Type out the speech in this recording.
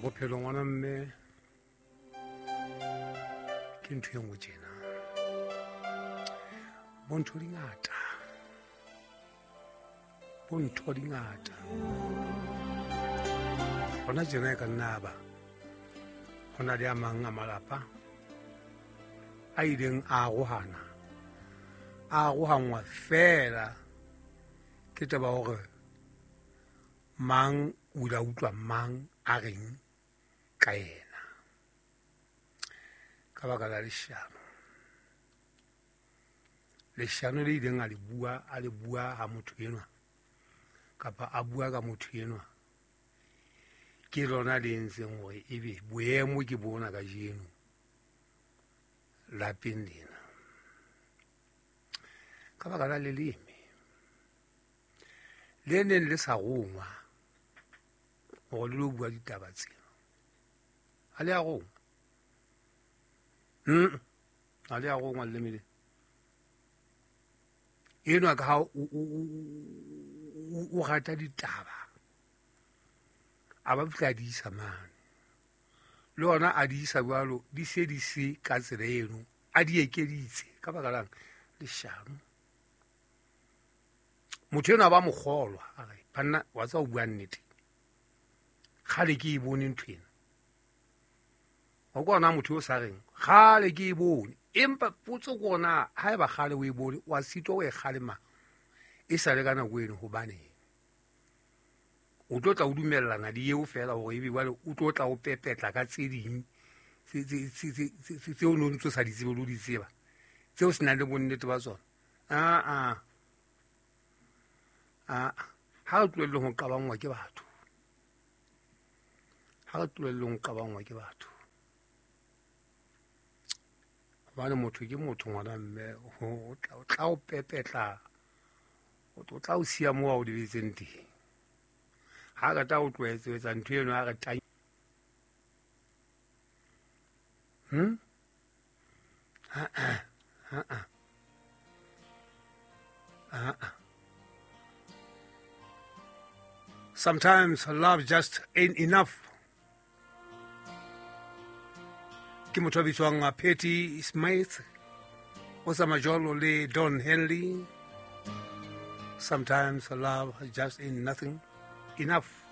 Bophelo ngwana mme ke ntho e nngwe tjena. Bo ntho di ngata, bo ntho di ngata. Hona tjena e ka nna ba ho na le a mang a malapa a ileng a arohana, a arohanngwa feela ke taba hore mang o ile a utlwa mang a reng ka yena ka baka la leshano. Leshano le ileng a le bua, a le bua ha motho enwa kapa a bua ka motho enwa, ke lona le entseng hore ebe boemo ke bona kajeno lapeng lena ka baka la leleme le neng le sa rongwa hore le lo bua ditaba tsena. Ha le a rongwa, ha le a rongwa leleme le enwa, ka ha o rata ditaba a ba fihla a di isa mane, le ona a di isa jwalo, di se di se ka tsela eno, a di ekeditse ka baka lang leshano. Motho enwa ba mo kgolwa, a re banna wa tseba ho bua nnete, kgale ke e bone ntho ena. Wa kwa ona motho yo sa reng kgale ke e bone, empa potso ke ona, ha eba kgale o e bone, wa sitwa o e kgalema e sa le ka nako eno, hobaneng o tlo tla o dumellana le eo feela hore ebe jwale o tlo tla o pepetla ka tse ding tseo no ntso sa di tsebe le ho di tseba, tseo se nang le bonnete ba tsona. Aa aa, ha re tlohelleng ho qabangwa ke batho, ha re tlohelleng ho qabangwa ke batho, hobane motho ke motho ngwana mme, o tla o pepetla, o tla o siya moo a o lebetseng teng. Ha re tla o tlohetse ho etsa ntho eno, ha re tla Sometimes love just ain't enough. Ke motho a bitswang Patti Smith, o tsamaya jwalo le Don Henley. Sometimes love just ain't nothing enough.